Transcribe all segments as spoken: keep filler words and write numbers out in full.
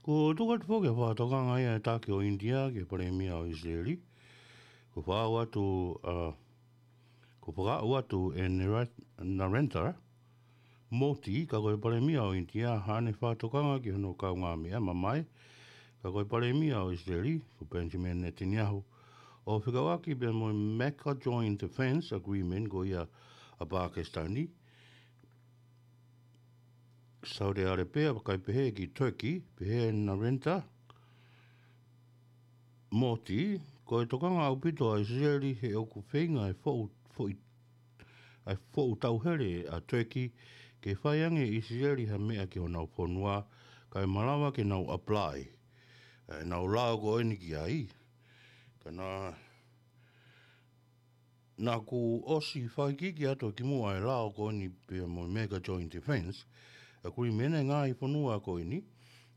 Ko e tuku atu foki ʻa e fakatokanga ia ʻa e taki ʻo ʻInitia ki he palēmia ʻo ʻIsileli. Ko e fakaʻau atu, ʻa, ko e fakaʻau atu ʻe Nara-, Narendra Modi, ka ko e palēmia ʻo ʻInitia, haʻane fakatokanga ki hono kaungāmeʻa mamae, ka ko e palēmia ʻo ʻIsileli, ko Benjamin Netanyahu, ʻo fekauʻaki pea mo e Mecca Joint Defense Agreement ko ia ʻa Pakistani, Saudi Arabia, kae pehē ki Turkey, pehē ʻe Narendra Modi, ko e tokanga ʻaupito ʻa ʻIsileli he ʻoku feinga ʻa e foʻu, foʻi, ʻa e foʻu tauhele ʻa Turkey ke fai ange ʻe ʻIsileli ha meʻa ki honau fonua, kae malava ke nau apply ʻenau lao ko eni ki ai. Ka na Naʻa ku ʻosi fakaikiiki atu ki muʻa e lao ko eni pea mo e Mecca Joint Defense Agreement ʻa e ngaahi fonua ko eni.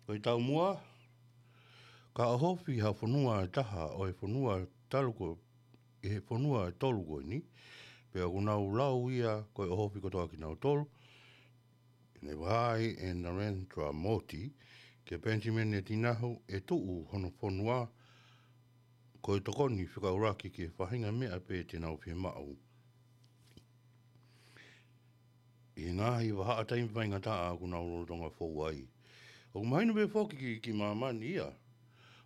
Ko e taumuʻa, ka ʻohofi ha fonua ʻe taha ʻo e fonua talu ko, ʻi he fonua ʻe tolu ko eni, pea ʻoku nau lau ia ko e ʻohofi kotoa kinautolu. Ne vaheʻi ʻe Narendra Modi kia Benjamin Netanyahu ʻe tuʻu hono fonua ko e tokoni fekauʻaki ki he faʻahinga meʻa pē te nau fiemaʻu ʻi he ngaahi vahaʻa taimi faingataʻa ʻoku nau lolotonga fou ai. ʻOku mahino pē foki ki, ki māmani ia,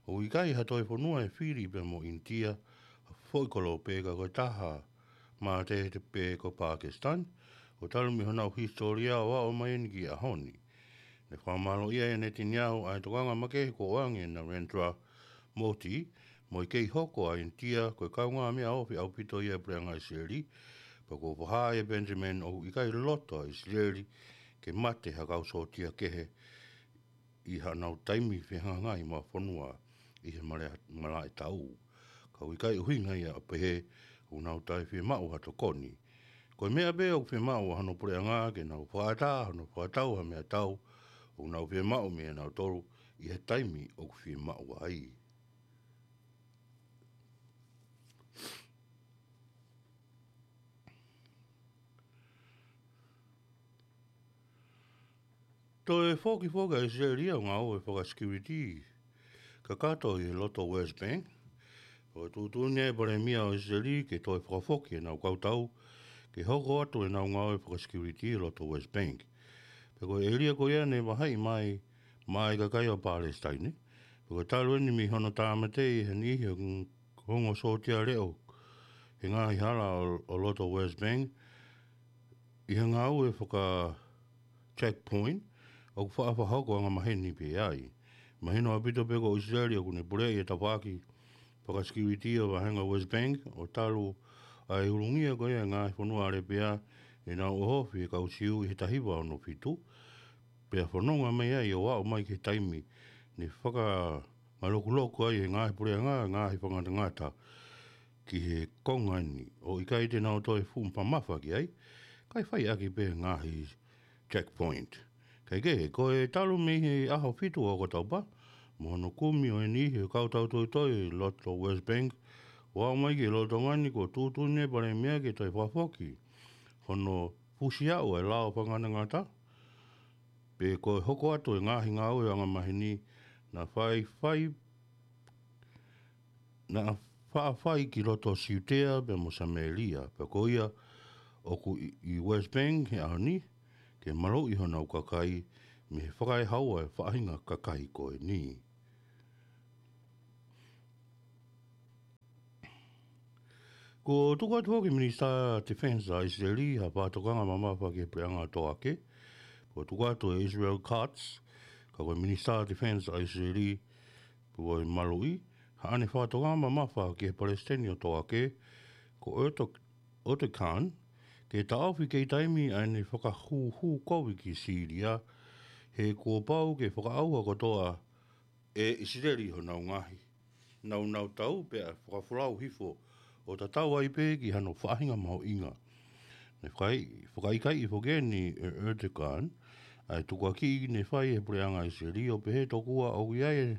ʻoku ʻikai ha toe fonua ʻe fili pea mo ʻInitia ha foʻi kolope, ka ko e taha mātete pē ko Pakistan, ʻo talu mei honau hisitōlia ʻo aʻu mai eni ki he ʻaho ni. Ne fakamālōʻia ʻe Netanyahu ʻa e tokanga makehe kuo ʻoange ʻe Narendra Modi, mo e kei hoko ʻa ʻInitia ko e kaungāmeʻa ofi ʻaupito ia ʻa e puleʻanga ʻIsileli, pea kuo fakahā ʻe Benjamin ʻoku ʻikai loto ʻa ʻIsileli ke mate ha kau sōtia kehe ʻi haʻanau taimi fehangahangai mo ha fonua ʻi he male-, malaʻe taʻu. Ka ʻoku ʻikai ʻuhinga ia ʻo pehē ʻoku nau toe fiemaʻu ha tokoni. Ko e meʻa pē ʻoku fiemaʻu ʻa hono puleʻanga ke nau fakaʻatā hono fakatau ha meʻatau ʻoku nau fiemaʻu meiate kinautolu ʻi he taimi ʻoku fiemaʻu ai. Toe foki foki ʻa ʻIsileli ʻo ngāue fakasekiuliti kakato ʻi he loto West Bank. ʻOku tuʻutuʻuni ʻa e palēmia ʻo ʻIsileli ke toe fakafoki ʻenau kau tau ke hoko atu ʻenau ngāue fakasekiuliti ʻi loto West Bank. Pea ko e ʻēlia ko ia ne vaheʻi mai maʻa e kakai ʻo Palesitaine. Pea ko e talu eni mei hono tāmateʻi ʻe ha niʻihi ʻo e ongo sōtia leʻo he ngaahi hala ʻo, ʻo loto West Bank ʻi he ngāue faka-checkpoint, ʻoku faʻa fakahoko angamaheni pē ai. Mahino ʻaupito pē ko ʻIsileli ʻoku ne puleʻi e tafaʻaki fakasekiuliti ʻo e vāhenga West Bank, ʻo talu ʻa e ulungia ko ia ʻa e ngaahi fonua ʻAlepea ʻenau ʻohofi e kau Siu ʻi he taha hiva ono fitu, pea fononga mai ai ʻo aʻu mai ki he taimi ne fakangalokuloku ai ʻe he ngaahi puleʻanga e ngaahi fakangatangata ki he konga ni, ʻo ʻikai te nau toe fuʻu mamafa ki ai, kae fai ʻaki pē ngaahi checkpoint. Kaekehe, ko e talu mei he ʻaho fitu ʻo ʻOkatopa, mo hono kumi ʻo e niʻihi ʻo e kau tau toitoi ʻi loto West Bank ʻo aʻu mai ki he lolotonga ni, kuo tuʻutuʻuni ʻe he palēmia ke toe fakafoki hono fusiaʻu e lao fakangatangata, pe ko e hoko atu e ngaahi ngāue angamaheni naʻa faʻa fai, naʻa faʻa fai ki loto Siutea pea mo Samēlia, pea ko ia ʻoku ʻi, ʻi West Bank he ʻaho ni, ke maluʻi honau kakai mei he fakaehaua e faʻahinga kakai ko eni. Kuo tuku atu foki ʻe he Minisitā Defense ʻa ʻIsileli ha fakatokanga mamafa ki he puleʻanga ʻo Toake. Kuo tuku atu ʻe Israel Katz, ka ko e Minisitā Defense ʻa ʻIsileli, pea ko e maluʻi, haʻane fakatokanga mamafa ki he Palesiteni ʻo Toake, ko Erdo-, Erdogan, ke taʻofi kei taimi ʻa ʻene fakahūhū kovi ki Sīlia, he kuo pau ke fakaʻauha kotoa ʻe ʻIsileli honau ngaahi naunau tau pea fakafolau hifo ʻo tatau ai pē ki hano faʻahinga mahuʻinga. Ne fakai-, fakaʻikaiʻi foki eni ʻe Erdogan ʻa e tukuakiʻi ne fai ʻe he puleʻanga ʻIsileli ʻo pehē tokua ʻoku ʻi ai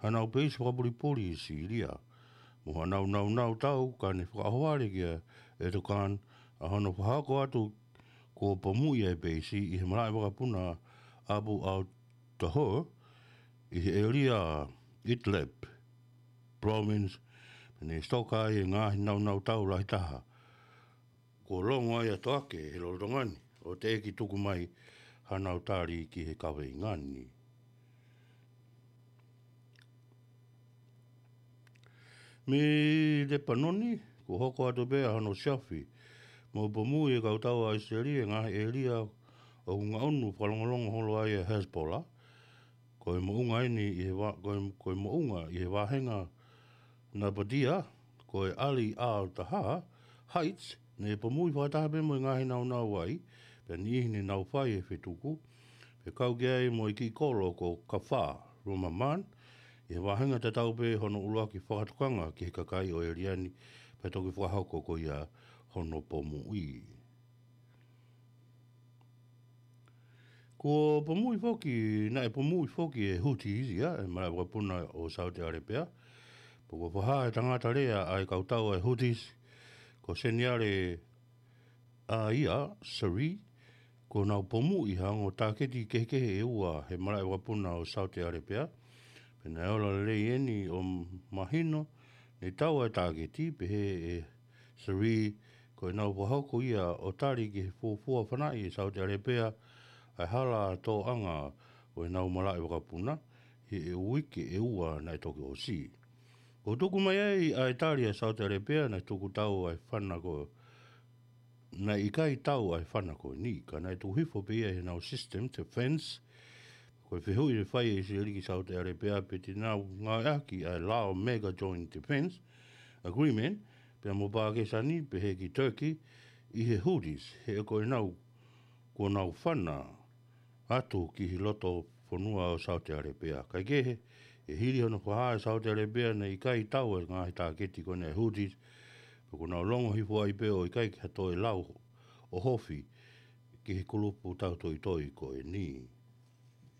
hanau peisi fakapulipuli ʻi Sīlia. Mo hanau naunau tau, ka ne fakaʻohovale kia Erdogan ʻa hono fakahoko atu kuo pomuʻi ʻa e peisi ʻi he malaʻe vakapuna Abu al-Tahur, ʻi he ʻēlia Idlib Province, pea ne sitoka ai e ngaahi naunau tau lahi taha. Kuo longo ai ʻa Toake he lolotonga ni, ʻo teʻeki tuku mai hanau tali ki he kaveinga ni. Mei Lepanoni, kuo hoko atu pē ʻa hono siaofi mo pomuʻi ʻe he kau tau ʻa ʻIsileli e ngaahi ʻēlia ʻoku ngaʻunu fakalongolongo holo ai ʻa Hezbollah. Ko e moʻunga eni ʻi he vā-, ko e, ko e moʻunga ʻi he vāhenga Nabatea, ko e Ali al-Tahar Heights, ne pomuʻi fakataha pē mo e ngaahi naunau ai, pea niʻihi ne nau fai e fetuku, pea kau ki ai mo e kiʻi kolo ko Kafar Rumaman, ʻi he vāhenga tatau pē hono ʻuluaki fakatokanga ki he kakai ʻo e ʻēlia ni, pea toki fakahoko ko ia hono pomuʻi. Kuo pomuʻi foki, naʻe pomuʻi foki e Houthis ia, e malaʻe vakapuna ʻo Saute ʻAlepea. Pea kuo fakahā ʻe he tangata lea ʻa e kau tau ʻa e Houthis, ko Seniale ʻAia Sari, kuo nau pomuʻi ha ongo tāketi kehekehe ʻe ua he malaʻe vakapuna ʻo Saute ʻAlepea. Pea naʻe ola lelei eni ʻo mahino, ne tau ʻa e tāketi, pehē ʻe Sari, ko ʻenau fakahoko ia ʻo tali ki he fuofua fanaʻi ʻe Saute ʻAlepea ʻa e hala tōʻanga ʻo ʻenau malaʻe vakapuna, he ʻe uike ʻe ua naʻe toki ʻosi. Kuo tuku mai ai ʻa e tali ʻa Saute ʻAlepea naʻe tuku tau ʻa e fana ko, naʻe ʻikai tau ʻa e fana ko eni, ka naʻe tuku hifo pē ia ʻi heʻenau system defense. Ko e fehuʻi ne fai ʻe ʻIsileli ki Saute ʻAlepea pe te nau ngāueʻaki ʻa e Lao Mega Joint Defense Agreement, pea mo Pākisani, pehē ki Turkey, ʻi he Houthis, he ko ʻenau, kuo nau fana atu ki he loto fonua ʻo Saute ʻAlepea. Kaekehe, ʻe hili hono fakahā ʻe Saute ʻAlepea naʻe ʻikai tau e ngaahi tāketi ko eni ʻa e Houthis, pea kuo nau longo hifo ai pē ʻo ʻikai ke toe lau ʻo hofi ki he kulupu tautoitoi ko eni.